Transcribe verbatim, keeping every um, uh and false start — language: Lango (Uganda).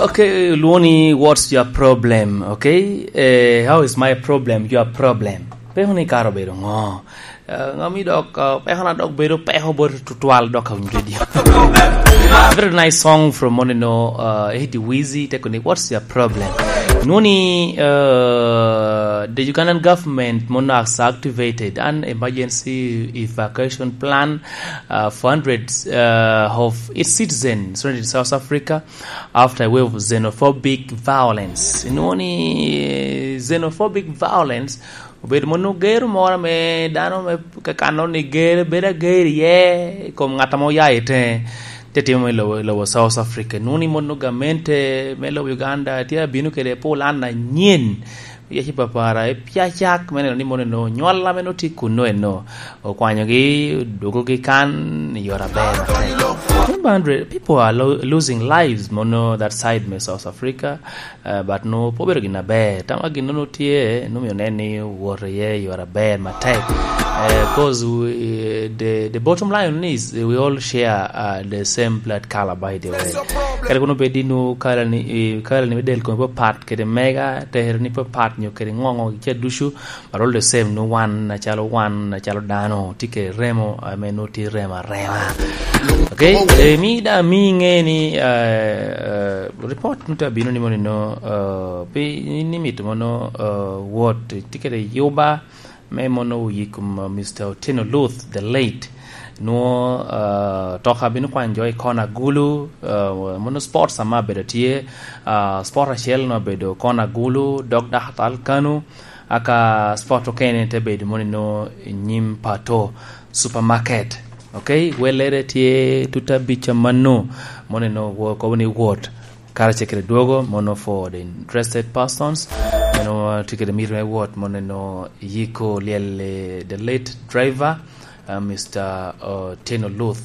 Okay, lwoni, what's your problem? Okay, eh, how is my problem your problem? Peko ni karo bedo ngo? Eh, ngami dok, eh, peko na dok bedo peko bot tutwal dok a winyo radio. Very nice song from Monino, uh, Eddie Wizzy, teko ni, what's your problem? Nuni, uh, the Ugandan government mono has activated an emergency evacuation plan, uh, for hundreds, uh, of its citizens surrounded in South Africa after a wave of xenophobic violence. Inwoŋo ni xenophobic violence obedo mono gero moro ame dano me kakano ni gero, bedo ager iye i kom ŋat ame oya i teŋe, te timo i lobo, lobo South Africa. Inwoŋo ni mono gamente me lobo Uganda tye abino kede pulan anyen. Yaci papara, i pia cak me neno ni mono eno, nywal ame nongo tye kuno eno, okwanyogi, odwogogi kan i yore aber matek. Remember, hundred people are lo-, losing lives mono that side me South Africa, uh, but no, pe obedo gin aber. Tama gin nongo tye, nongo myero nen ni owoto iye i yore aber matek. Uh, 'cause we, the, the bottom line is we all share, uh, the same blood color, by the way. Kadi kono bed ni nwoŋo kala ni, eh, kala ni me del kome pe pat kede mega, tere ni pe pat nyo kede ŋoŋo ca ducu, but all the same nwoŋo wan acalo wan, acalo dano, tye kede remo ame nwoŋo tye remo arema. Okay, eh, mi da mi ŋe ni, eh, eh, report nwoŋo tye abino ni mono eno, eh, pi ni, ni mito mono, eh, wot tye kede yuba, me mono oyi kom, uh, Mister Otieno Luth, the late. Nwoŋo, uh, toka bino kwanyo jo i kona Gulu, uh, mono sports ame abedo tye, uh, sport acel nwoŋo abedo kona Gulu, dok Dakhatar Kanu, aka sport okene te bedo mono eno i nyim Pato Supermarket. Okay, wellere tye tuta bica mano, mono eno wo-, kobo ni wot. Karacel kede dwogo, mono for the interested persons. Eno tye kede mito me wot, mono eno yiko lyel, eh, the late driver, uh, Mister Otieno Luth.